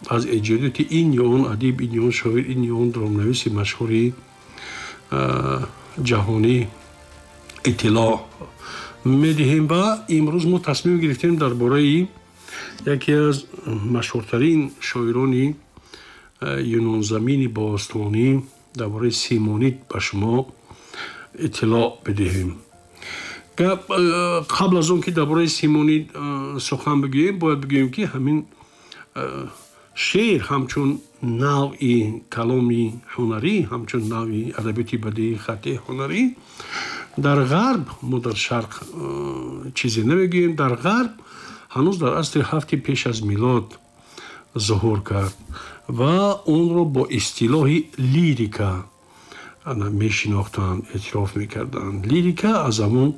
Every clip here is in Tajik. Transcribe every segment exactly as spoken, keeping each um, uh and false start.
аз эҷодиёти ин ё он адиб, ин ё он шоир, ин ё он драмнависи машҳури ҷаҳонӣ иттилоъ медиҳем. Ва имрӯз мо тасмим гирифтем дар бораи яке аз машҳуртарин шоирони юнонзамини бостонӣ, дар бораи Симонид ба шумо иттилоъ бидиҳем. Қабл аз он ки дар бораи Симонид сухан бигӯем, бояд бигӯем, ки ҳамин шеър ҳамчун навъи каломи ҳунарӣ, ҳамчун навъи адабиёти бадеии хаттии ҳунарӣ дар Ғарб, мо дар Шарқ чизе намегӯем, дар Ғарб ҳанӯз дар асри ҳафти пеш аз милод зуҳур кард ва онро бо истилоҳи лирика мешинохтанд, эътироф мекарданд. Лирика аз ҳамон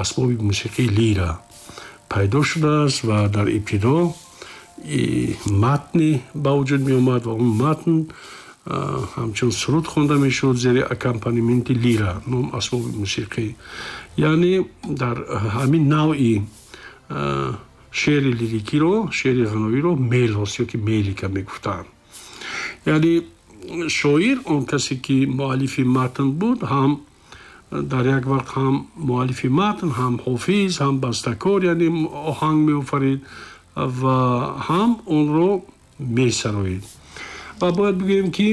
асбоби мусиқии лира пайдо шудааст ва дар ибтидо матне ба вуҷуд меомад ва он матн ҳамчун суруд хонда мешуд зери аккомпанементи лира, ном асбоби мусиқӣ. Яъне дар ҳамин навъи шеъри лирикиро, шеъри ғаноиро мелос ё ки мелика мегуфтанд. Яъне шоир, он касе ки муаллифи матн буд, ҳам дар як вақт ҳам муаллифи матн, ҳам ҳофиз, ҳам бастакор, яъне оҳанг меофарид ва ҳам онро месароид. Ва бояд бигӯем, ки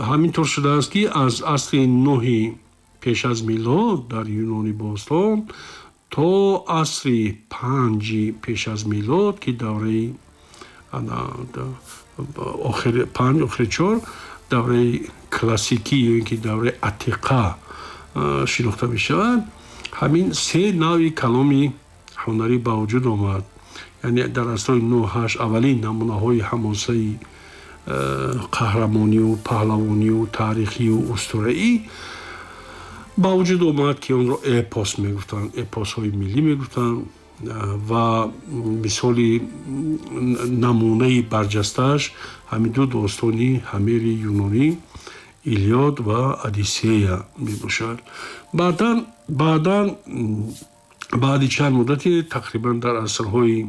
ҳамин тур шудааст, ки аз асри нӯҳи пеш аз милод дар Юнони бостон то асри панҷи пеш аз милод, ки давраи панҷ, охири чор, давраи классикӣ ё ин ки давраи атиқа шинохта мешавад, ҳамин се навъи каломи ҳунарӣ ба вуҷуд омад. Яъне дар асрҳои нӯҳ, ҳашт аввалин намунаҳои ҳамосаи қаҳрамонию паҳлавонию таърихию устураӣ ба вуҷуд омад, ки онро эпос мегуфтанд, эпосҳои миллӣ мегуфтанд. Ва мисоли намунаи барҷастааш ҳамин ду достони Ҳамери юнонӣ, Илиод ва Одиссея мебошад. баъдан баъдан баъди чанд муддате, тақрибан дар асрҳои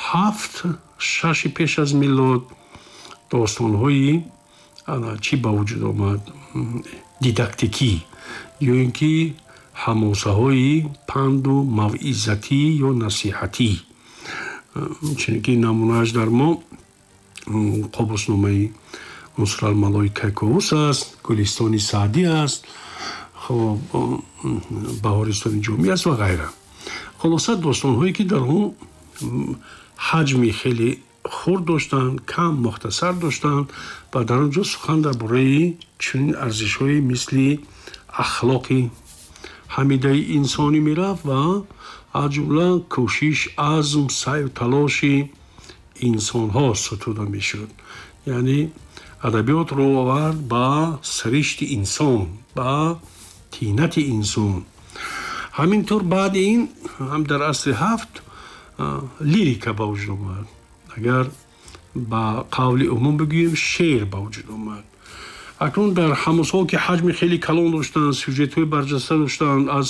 ҳафт, шаши пеш аз милод, достонҳои чӣ ба вуҷуд омад? Дидактикӣ ё ин ки ҳамосаҳои панду мавъизатӣ ё насиҳатӣ, чунки намунааш дар мо Қобусномаи Нусралмалои Кайковус аст, Гулистони Саъдӣ аст, хоб, Баҳористони Ҷомӣ аст ва ғайра. Хулоса, достонҳое ки дар он ҳаҷми хеле хурд доштанд, кам, мухтасар доштанд ва дар он ҷо сухан дар бораи чунин арзишҳое мисли ахлоқи ҳамидаи инсонӣ мерафт ва аз ҷумла кӯшиш, азм, саъю талоши инсонҳо сутуда мешуд. Яъне адабиёт рӯ овард ба сиришти инсон, ба тинати инсон. Ҳамин тур баъди ин ҳам дар асри ҳафт лирика ба вуҷуд омад, агар ба қавли умум бигӯем, шеър ба вуҷуд омад. Акнун дар ҳамосҳо, ки ҳаҷми хеле калон доштанд, сюжетҳои барҷаста доштанд, аз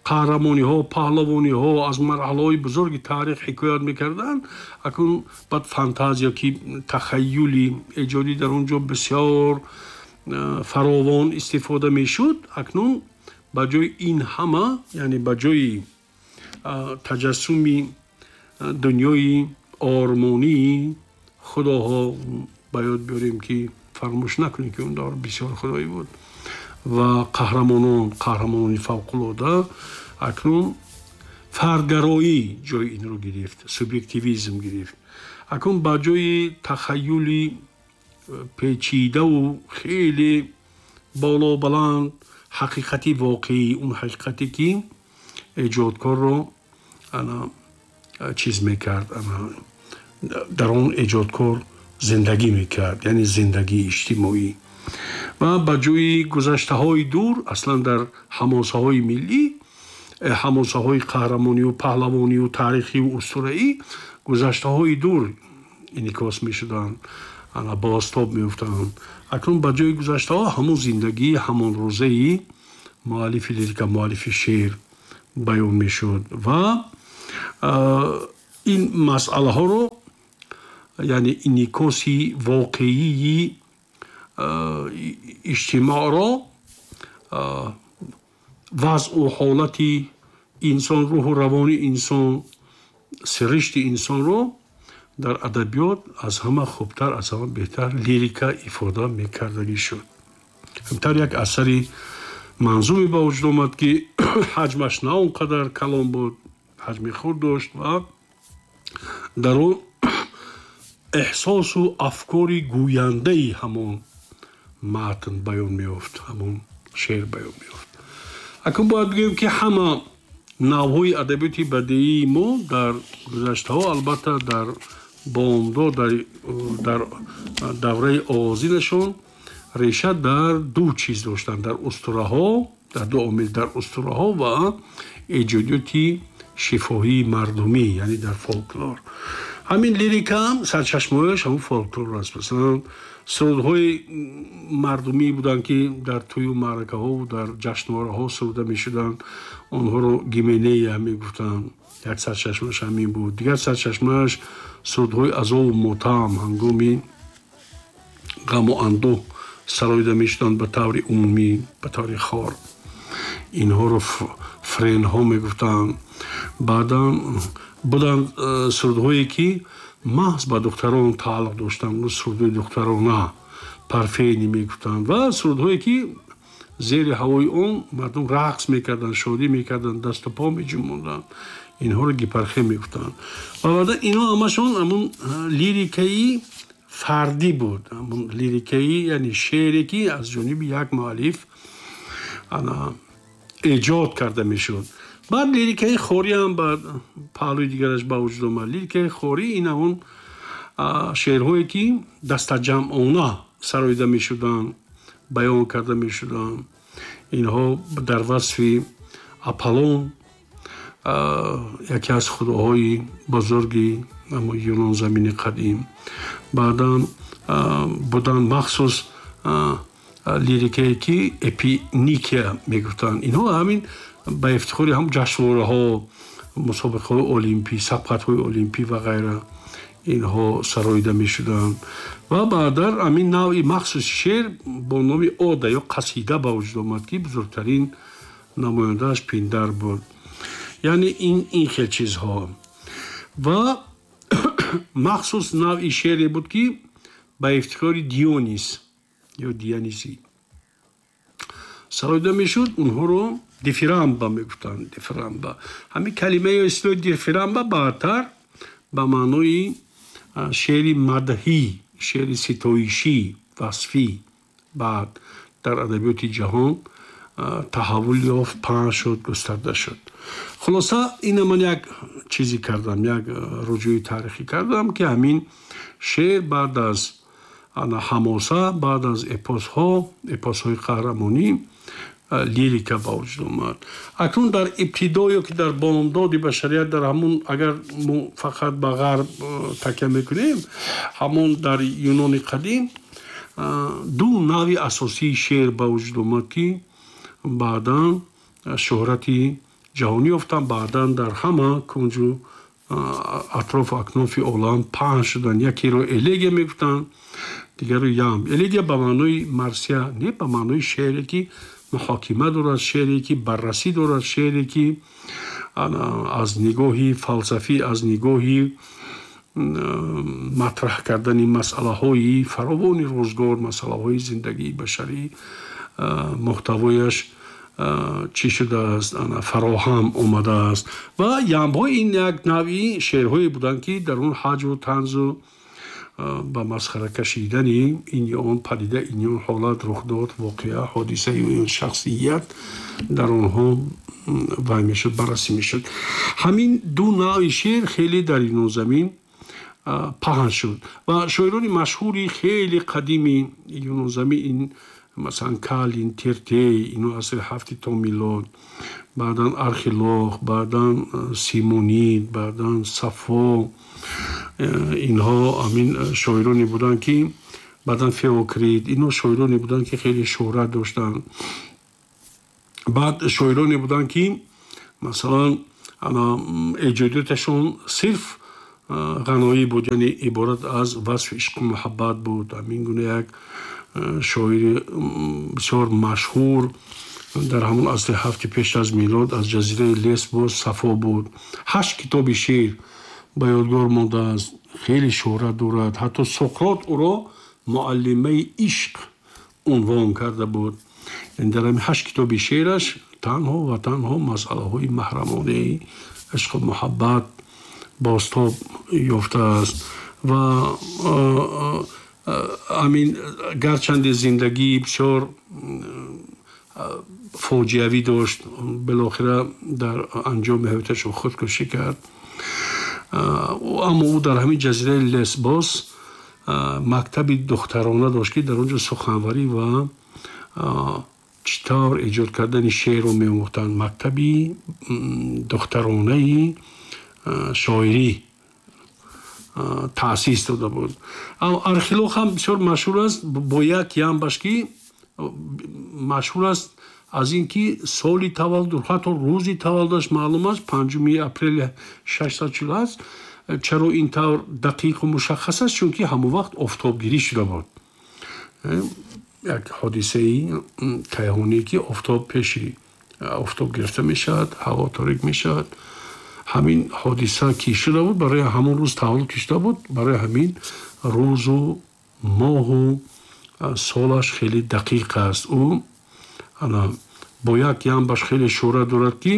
қаҳрамониҳо, паҳлавониҳо, аз марҳалаҳои бузурги таърих ҳикоят мекарданд, акнун баъд фантазия ки тахаюли эҷодӣ дар он ҷо бисёр фаровон истифода мешуд, акнун ба ҷои ин ҳама, яъне ба ҷои таҷассуми дунёи ормонии худоҳо, ба ёд биёрем, ки фаромӯш накунем, ки он давр бисёр худоӣ буд, ва қаҳрамонон, қаҳрамонони фавқулода, акнун фардгароӣ ҷои инро гирифт, субъективизм гирифт. Акнун ба ҷои тахаюли печидаву хеле боло баланд, ҳақиқати воқеӣ, он ҳақиқате ки эҷодкорро ана чиз мекард, дар он эҷодкор зиндагӣ мекард, яъне зиндагии иҷтимоӣ, ва ба ҷои гузаштаҳои дур, аслан дар ҳамосаҳои миллӣ, ҳамосаҳои қаҳрамонию паҳлавонию таърихию устураӣ, гузаштаҳои дур инъикос мешуданд, ана бозтоб меёфтанд, акнун ба ҷои гузаштаҳо ҳамон зиндагии ҳамон рӯзаи муаллифи лирика, муаллифи шеър баён мешуд. Ва ин масъалаҳоро Яъне инъикоси воқеии иҷтимоъро, вазъу ҳолати инсон, рӯҳу равони инсон, сиришти инсонро дар адабиёт аз ҳама хубтар, аз ҳама беҳтар лирика ифода мекардагӣ шуд. Ҳамтар як асари манзуме ба вуҷуд омад, ки ҳаҷмаш на он қадар калон буд, ҳаҷми худ дошт ва дар он эҳсосу афкори гӯяндаи ҳамон матн баён меёфт, ҳамон шеър баён меёфт. Акун бояд бигӯем, ки ҳама навъҳои адабиёти бадеии мо дар гузаштаҳо, албатта дар бомдод, дар давраи оғозинашон реша дар ду чиз доштанд: дар устураҳо, дар ду омил, дар устураҳо ва эҷодиёти шифоҳии мардумӣ, яъне дар фолклор. Ҳамин лирика ҳам сарчашмаҳояш ҳамун фолклор аст. Масалан, сурудҳои мардумӣ буданд, ки дар тӯю маъракаҳову дар ҷашнвораҳо суруда мешуданд, онҳоро гименея мегуфтанд. Як сарчашмааш ҳамин буд. Дигар сарчашмааш сурудҳои азову мотам, ҳангоми ғаму андӯҳ сароида мешуданд ба таври умумӣ, ба таври хор. Инҳоро френҳо мегуфтанд. Баъдан буданд сурудҳое, ки маҳз ба духтарон тааллуқ доштанд, сурудҳои духтарона, парфени мегуфтанд, ва сурудҳое, ки зери ҳавои он мардум рақс мекарданд, шодӣ мекарданд, дасту по меҷунбонданд, инҳоро гипархе мегуфтанд. Ва баъдан инҳо ҳамашон ҳамун лирикаи фардӣ буд, ҳамун лирикаи, яъне шеъре, ки аз ҷониби як муаллиф эҷод карда мешуд. Баъд лирикаи хорӣ ҳам баъд паҳлӯи дигараш ба вуҷуд омад. Лирикаи хорӣ ин ҳамун шеърҳое, ки дастаҷамъона сароида мешуданд, баён карда мешуданд. Инҳо дар васфи Аполлон, яке аз худоҳои бузурги Юнонзамини қадим. Баъдан буданд махсус лирикае, ки эпиникия мегуфтанд. Инҳо ҳамин ба ифтихори ҳам ҷашнвораҳо, мусобиқаҳои олимпӣ, сабқатҳои олимпӣ ва ғайра инҳо сароида мешуданд. Ва баъдан ҳамин навъи махсуси шеър бо номи ода ё қасида ба вуҷуд омад, ки бузургтарин намояндааш Пиндар буд. Яъне ин ин хел чизҳо. Ва махсус навъи шеъре буд, ки ба ифтихори Дионис ё Дионисӣ сароида мешуд, онҳоро дифирамба мегуфтанд. Дифирамба, ҳамин калимаи истилоҳи дифирамба баъдтар ба маънои шеъри мадҳӣ, шеъри ситоишӣ, васфӣ баъд дар адабиёти ҷаҳон таҳаввул ёфт, паҳн шуд, густарда шуд. Хулоса, ина ман як чизе кардам, як руҷӯи таърихӣ кардам, ки ҳамин шеър баъд аз ҳамоса, баъд аз эпосҳо, эпосҳои қаҳрамонӣ, лирика ба вуҷуд омад. Акнун дар ибтидо ё ки дар бомдоди башарият, дар ҳамун, агар мо фақат ба ғарб такя мекунем, ҳамон дар Юнони қадим ду навъи асосии шеър ба вуҷуд омад, ки баъдан шӯҳрати ҷаҳонӣ ёфтанд, баъдан дар ҳама кунҷу атрофу акнофи олам паҳн шуданд. Якеро элегия мегуфтанд, дигарро ямб. Элегия ба маънои марсия не, ба маънои шеъре, ки муҳокима дорад, шеъре, ки баррасӣ дорад, шеъре, ки аз нигоҳи фалсафӣ, аз нигоҳи матраҳ кардани масъалаҳои фаровони рӯзгор, масъалаҳои зиндагии башарӣ, муҳтавояш чӣ шудааст, фароҳам омадааст. Ва ямбҳо ин як навъи шеърҳое буданд, ки дар он ҳаҷву танзу ба масхара кашидани ин ё он падида, ин ё он ҳолат, рухдод, воқеа, ҳодиса ё ин шахсият дар онҳо вай мешуд, баррасӣ мешуд. Ҳамин ду навъи шеър хеле дар Юнонзамин паҳн шуд ва шоирони машҳури хеле қадими Юнонзамин ин масалан Калин, Тиртей, ино асри ҳафти то милод, баъдан Архилох, баъдан Симонид, баъдан Сафо, инҳо ҳамин шоироне буданд, ки баъдан Феокрит, инҳо шоироне буданд, ки хеле шӯҳрат доштанд. Баъд шоироне буданд, ки масалан эҷодиёташон сирф Ғаноӣ буд, яъне иборат аз васфи ишқу муҳаббат буд. Ҳамин гуна як шоири бисёр машҳур дар ҳамон асри ҳафти пеш аз милод аз ҷазираи Лесбос Сафо буд. Ҳашт китоби шеър ба ёдгор мондааст, хеле шӯҳрат дорад. Ҳатто Соқрот ӯро муаллимаи ишқ унвон карда буд. Яъне дар ҳамин ҳашт китоби шеъраш танҳо ва танҳо масъалаҳои маҳрамонаи ишқу муҳаббат бозтоб ёфтааст. Ва ҳамин гарчанде зиндагии бисёр фоҷиавӣ дошт, билохира дар анҷоми ҳаёташ худкушӣ кард, аммо ӯ дар ҳамин ҷазираи Лесбос мактаби духтарона дошт, ки дар он ҷо суханварӣ ва чӣ тавр эҷод кардани шеърро меомӯхтанд. Мактаби духтаронаи шоирӣ таъсис дода буд. Архилох ҳам бисёр машҳур аст бо як ямбаш, ки машҳур аст аз ин ки соли таваллуд, ҳатто рӯзи таваллудаш маълум аст, панҷуми апрели шашсаду чилу ҳашт. Чаро ин тавр дақиқу мушаххас аст? Чунки ҳамон вақт офтобгирӣ шуда буд, як ҳодисаи кайҳоние ки офтоб пеши офтоб гирифта мешавад, ҳаво торик мешавад. Ҳамин ҳодиса ки шуда буд, барои ҳамон рӯз таваллуд ки шуда буд, барои ҳамин рӯзу моҳу солаш хеле дақиқ аст. Ӯ ана бо як ямбаш хеле шӯҳрат дорад, ки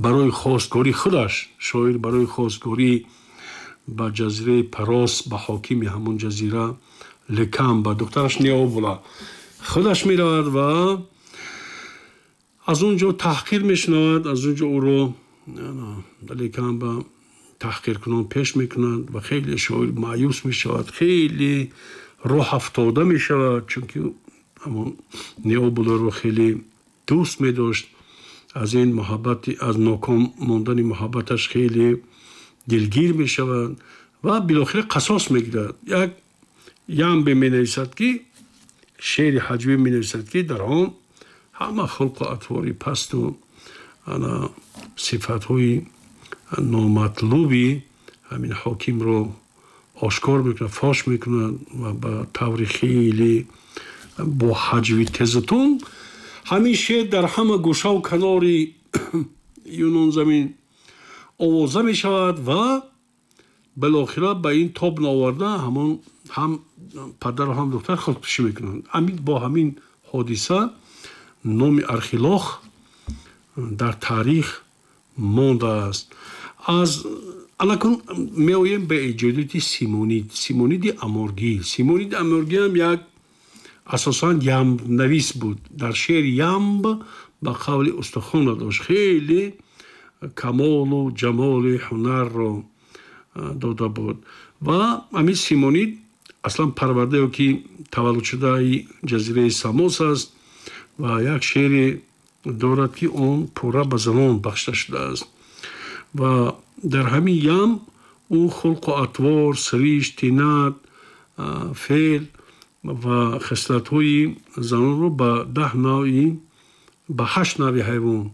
барои хостгорӣ худаш шоир барои хостгорӣ ба ҷазираи Парос ба ҳокими ҳамон ҷазира Лекам ба духтараш Необула худаш меравад ва аз он ҷо таҳқир мешунавад. Аз он ҷо ӯро Лекам ба таҳқиркунон пеш мекунад ва хеле шоир маъюс мешавад, хеле роҳ афтода мешавад, чунки ҳамон Необуларо хеле дӯст медошт. Аз ин муҳаббати, аз ноком мондани муҳаббаташ хеле дилгир мешавад ва билохира қасос мегирад. Як ямбе менависад, ки шеъри ҳаҷвӣ менависад, ки дар он ҳама хулқу атвори пасту ана сифатҳои номатлуби ҳамин ҳокимро ошкор мекунад, фош мекунад ва ба таври хеле бо ҳаҷви тезутун ҳамин шеър дар ҳама гӯшаву канори Юнонзамин овоза мешавад ва билохира ба ин тоб наоварда ҳамон ҳам падару ҳам духтар худкушӣ мекунанд. Ҳамин бо ҳамин ҳодиса номи Архилох дар таърих мондааст. Аз алакун меоем ба эҷодиёти Симонид, Симониди Аморгӣ. Симониди Аморгӣ ҳам як асосан ямбнавис буд. Дар шеър ямб ба қавли устухона дошт, хеле камолу ҷамоли ҳунарро дода буд. Ва ҳамин Симонид аслан парвардаё ки таваллудшудаи ҷазираи Самос аст ва як шеъре дорад, ки он пурра ба занон бахшида шудааст. Ва дар ҳамин ям ӯ хулқу атвор, сиришт, тинат, феъл ва хислатҳои занонро ба даҳ навъи, ба ҳашт навъи ҳайвон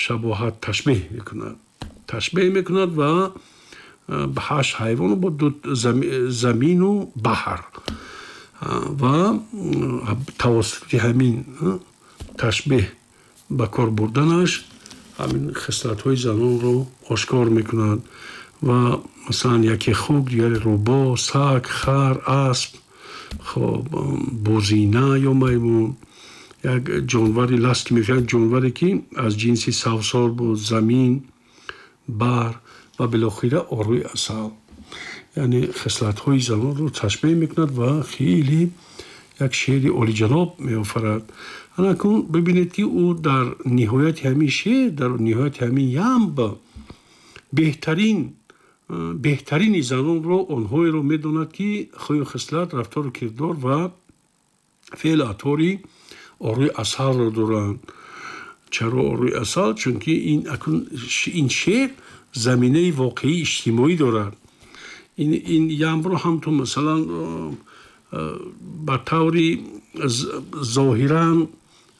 шабоҳат ташбеҳ мекунад ташбеҳ мекунад ва ба ҳашт ҳайвону бо ду замину баҳр, ва тавассути ҳамин ташбеҳ ба кор бурданаш ҳамин хислатҳои занонро ошкор мекунад. Ва масалан яке хук, дигаре рӯбо, саг, хар, асп, хоб бозина ё маймун, як ҷонвари ласт ки мегӯянд, ҷонваре ки аз ҷинси савсор буд, замин, баҳр ва билохира орӯи асал. Яъне хислатҳои занонро ташбеҳ мекунад ва хеле як шеъри олиҷаноб меофарад. Анакун бибинед, ки ӯ дар ниҳояти ҳамин шеър, дар ниҳояти ҳамин ямб беҳтарин беҳтарини занонро онҳоеро медонад, ки хӯю хислат, рафтору кирдор ва феълу атвори орӯи асалро доранд. Чаро орӯи асал? Чунки ин акун ин шеър заминаи воқеии иҷтимоӣ дорад. Ин ин ямбро ҳам ту масалан ба таври зоҳиран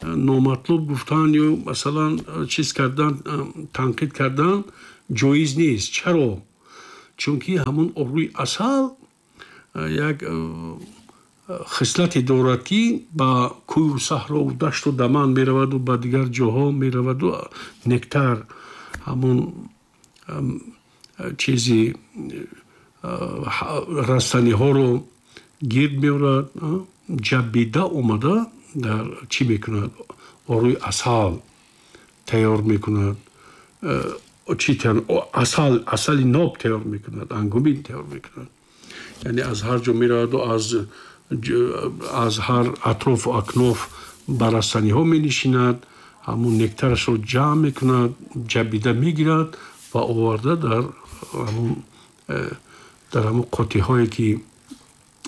номатлуб гуфтан ё масалан чиз кардан, танқид кардан ҷоиз нест. Чаро? Чунки ҳамун обрӯи асал як хислате дорад, ки ба кӯю саҳрову дашту даман мераваду ба дигар ҷоҳо мераваду нектар, ҳамун чизи растаниҳоро гирд меорад, ҷаббида омада дар чӣ мекунад? Орӯи асал тайёр мекунад, чӣ, асал, асали ноб тайёр мекунад, ангумин тайёр мекунад. Яъне аз ҳар ҷо мераваду аз аз ҳар атрофу акноф ба растаниҳо менишинад, ҳамун нектарашро ҷамъ мекунад, ҷаббида мегирад ва оварда дар ҳамун дар ҳамун қуттиҳое, ки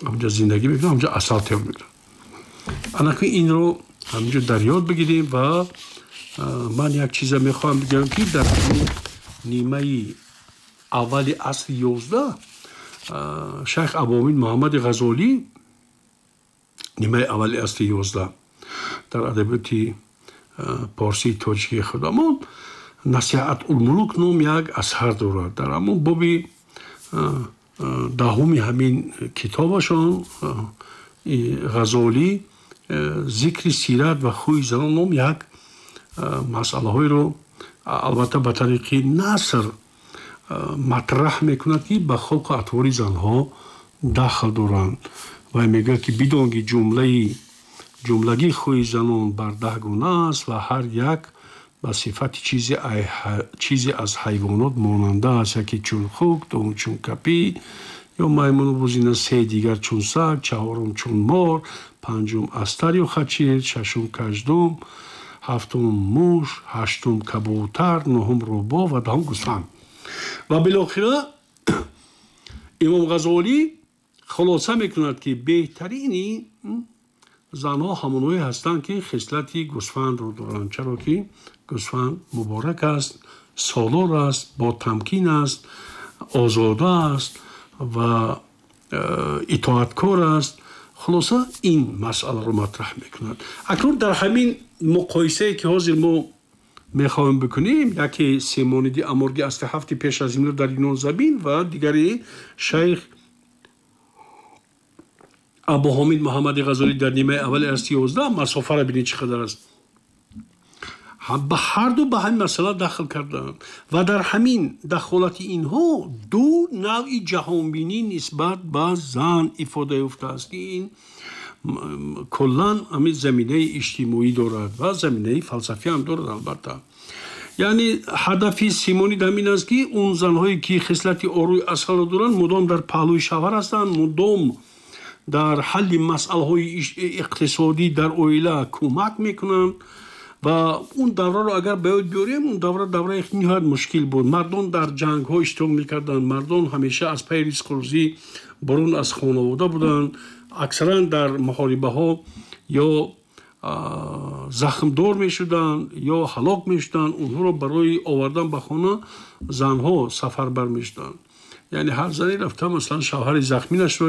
ҳамҷа зиндагӣ мекунад, ҳамҷа асал тайёр мекунад. Анаки инро ҳаминҷо дар ёд бигирем. Ва ман як чиза мехоҳам бигӯям, ки дар нимаи аввали асри ёздаҳ шайх Абуҳомид Муҳаммади Ғазолӣ, нимаи аввали асри ёздаҳ, дар адабиёти порсии тоҷикии худамон Насиҳатулмулук ном як асар дорад. Дар ҳамон боби даҳуми ҳамин китобашон Ғазолӣ «Зикри сират ва хӯи занон» ном як масъалаҳоеро, албатта ба тариқи наср, матраҳ мекунад, ки ба хулқу атвори занҳо дахл доранд. Ва мегӯяд, ки бидон, ки ҷумлаи ҷумлагӣ хӯи занон бар даҳ гуна аст ва ҳар як ба сифати чизе аз ҳайвонот монанда аст: яке чун хук, дуввум чун капӣ ё маймуну бузина, се дигар чун саг, чаҳорум чун мор, панҷум астар ё хачир, шашум каждум, ҳафтум муш, ҳаштум кабутар, нуҳум рӯбоҳ ва даҳум гӯсфанд. Ва билохира Имом Ғазолӣ хулоса мекунад, ки беҳтарини занҳо ҳамонҳое ҳастанд, ки хислати гӯсфандро доранд, чаро ки гӯсфанд муборак аст, солор аст, ботамкин аст, озода аст ва э, итоаткор аст. Хулоса, ин масъаларо матраҳ мекунад. Акнун дар ҳамин муқоисае, ки ҳозир мо мехоҳем бикунем, яке Семониди Аморги, асри ҳафти пеш аз милод, дар Юнонзамин ва дигари шайх Абуҳомид Муҳаммади Ғазолӣ дар нимаи аввали асри ёздаҳ, масофаро бинед, чӣ қадар аст. Ба ҳарду ба ҳамин масъала дахл карданд ва дар ҳамин дахолати инҳо ду навъи ҷаҳонбинӣ нисбат ба зан ифода ёфтааст, ки ин куллан ҳамин заминаи иҷтимоӣ дорад ва заминаи фалсафӣ ҳам дорад, албатта. Яъне ҳадафи Симонид ҳамин аст, ки он занҳое, ки хислати орӯи асалро доранд, мудом дар паҳлӯи шавҳар ҳастанд, мудом дар ҳалли масъалаҳои иқтисодӣ дар оила кӯмак мекунанд. Ва он давраро агар ба ёд биёрем, он давра давраи ниҳоят мушкил буд. Мардон дар ҷангҳо иштирок мекарданд, мардон ҳамеша аз пайи ризқу рӯзӣ берун аз хонавода буданд, аксаран дар муҳорибаҳо ё захмдор мешуданд, ё ҳалок мешуданд. Онҳоро барои овардан ба хона занҳо сафарбар мешуданд. Яъне ҳар зане рафта, масалан, шавҳари захминашро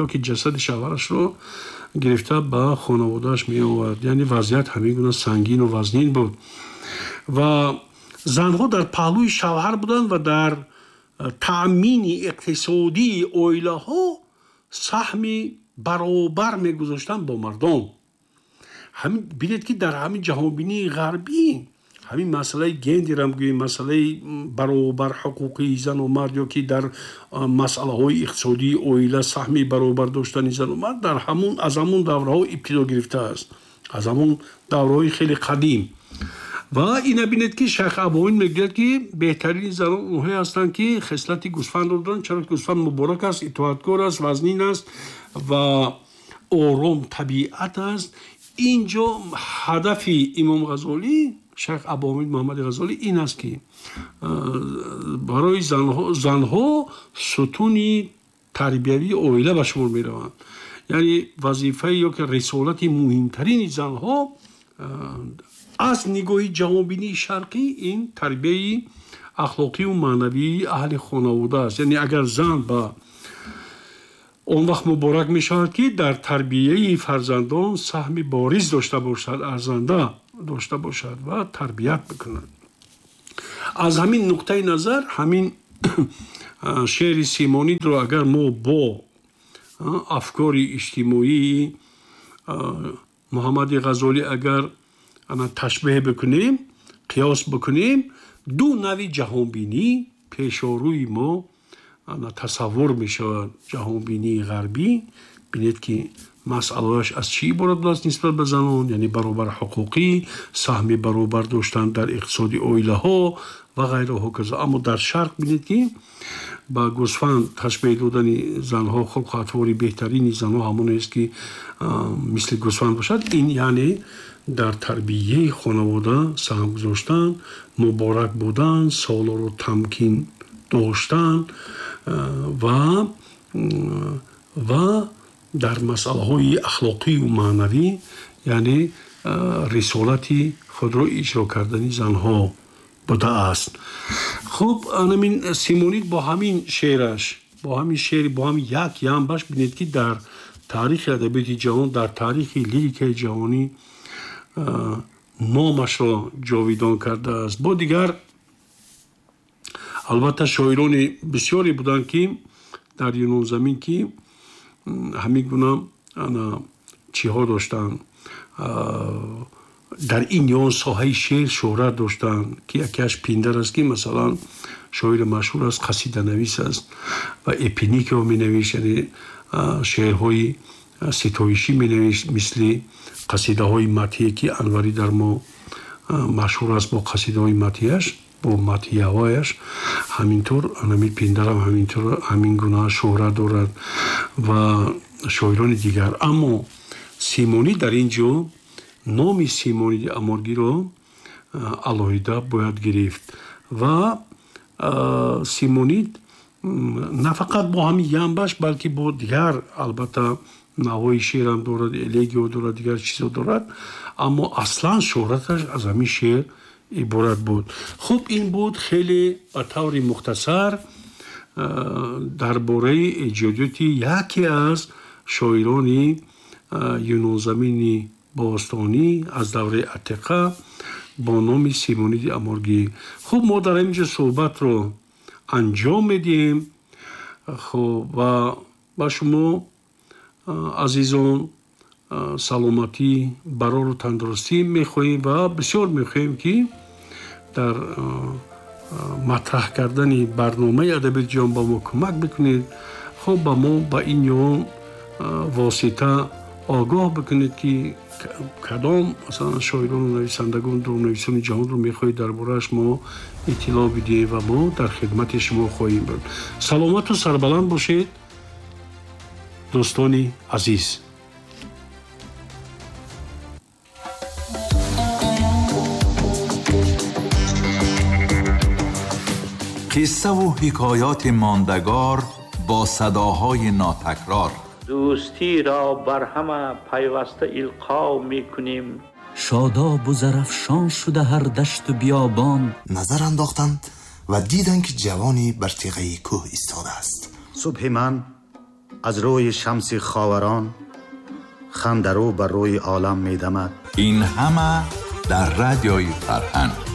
ё ки ҷасади шавҳарашро гирифта ба хонаводааш меовард. Яъне вазъият ҳамин гуна сангину вазнин буд ва занҳо дар паҳлӯи шавҳар буданд ва дар таъмини иқтисодии оилаҳо саҳми баробар мегузоштанд бо мардон. Ҳамин бинед, ки дар ҳамин ҷаҳонбинии ғарбӣ ҳамин масъалаи гендерам гӯем, масъалаи баробар ҳуқуқии зану мард ё ки дар масъалаҳои иқтисодии оила саҳми баробар доштани зану мард дар ҳамун аз ҳамун давраҳо ибтидо гирифтааст, аз ҳамун давраҳои хеле қадим. Ва ина бинед, ки шайх Абуҳомид мегӯяд, ки беҳтарини занон онҳое ҳастанд, ки хислати гӯсфандро доранд, чаро ки гӯсфанд муборак аст, итоаткор аст, вазнин аст ва ором табиат аст. Инҷо ҳадафи Имом Ғазолӣ, шайх Абуҳомид Муҳаммади Ғазолӣ, ин аст, ки барои занҳо сутуни тарбиявии оила ба шумор мераванд. Яъне вазифаи ё ки рисолати муҳимтарини занҳо аз нигоҳи ҷаҳонбинии шарқӣ ин тарбияи ахлоқию маънавии аҳли хонавода аст. Яъне агар зан ба он вақт муборак мешавад, ки дар тарбияи фарзандон саҳми бориз дошта бошад, арзанда дошта бошад ва тарбият бикунад. Аз ҳамин нуқтаи назар ҳамин Шеъри Симонидро агар мо бо афкори иҷтимоии Муҳаммади Ғазолӣ агар ташбеҳ бикунем, қиёс бикунем, ду нави ҷаҳонбинӣ пешорӯи мо тасаввур мешавад. Ҷаҳонбинии ғарбӣ, бинед ки масъалааш аз чӣ иборат будааст нисбат ба занон, яъне баробар ҳуқуқӣ, саҳми баробар доштан дар иқтисоди оилаҳо ва ғайра ҳоказо. Аммо дар шарқ бинед ки ба гӯсфанд ташбеҳ додани занҳо, хулқу атвори беҳтарини занҳо ҳамонест ки мисли гӯсфанд бошад. Ин яъне дар тарбияи хонавода саҳм гузоштан, муборак будан, солоро тамкин доштан ва ва дар масъалаҳои ахлоқию маънавӣ, яъне рисолати худро иҷро кардани занҳо будааст. Хуб, анамин Симонид бо ҳамин шеъраш, бо ҳамин шеър, бо ҳамин як ямбаш бинед ки дар таърихи адабиёти ҷаҳон, дар таърихи лирикаи ҷаҳонӣ номашро ҷовидон кардааст. Бо дигар албатта шоирони бисёре буданд ки дар Юнонзамин ки ҳамин гуна чиҳо доштанд, дар ин ё он соҳаи шеър шӯҳрат доштанд, ки якеаш Пиндар аст ки масалан шоири машҳур аст, қасиданавис аст ва эпиникиро менавишт, яъне шеърҳои ситоишӣ менавишт, мисли қасидаҳои матие ки Анварӣ дар мо машҳур аст бо қасидаҳои матияш, бо матияҳояш. Ҳаминтур анами Пиндарам ҳаминтур ҳамин гуна шӯҳрат дорад ва шоирони дигар. Аммо Симонӣ дар ин ҷо номи Симониди Аморгиро алоҳида бояд гирифт ва Симонид на фақат бо ҳамин ямбаш, балки бо дигар албатта навои шеърам дорад, элегио дорад, дигар чизо дорад, аммо аслан шӯҳраташ аз ҳамин шеър иборат буд. Хуб, ин буд хеле ба таври мухтасар дар бораи эҷодиёти яке аз шоирони юнонзамини бостонӣ аз давраи Атиқа бо номи Симониди Аморгӣ. Хуб, мо дар ин ҷо суҳбатро анҷом медиҳем. Хуб, ва ба шумо азизон саломатӣ, барору тандурустӣ мехоҳем ва бисёр мехоҳем ки дар матраҳ кардани барномаи адабиёти ҷаҳон ба мо кӯмак бикунед. Хуб, ба мо ба ин ё он восита огоҳ бикунед ки кадом масалан шоирону нависандагон, дурнависони ҷаҳонро мехоҳед дар борааш мо иттилоъ бидиҳем ва мо дар хидмати шумо хоҳем буд. Саломату сарбаланд бошед дӯстони азиз. Қиссаву ҳикоёти мондагор бо садоҳои нотакрор. Дӯстиро бар ҳама пайваста илқо мекунем. Шодобу зарафшон шуда ҳар дашту биёбон. Назар андохтанд ва диданд ки ҷавоне бар теғаи кӯҳ истодааст. Субҳи ман аз рӯи шамси ховарон хандарӯ бар рӯи олам медамад. Ин ҳама дар радиои Фарҳанг.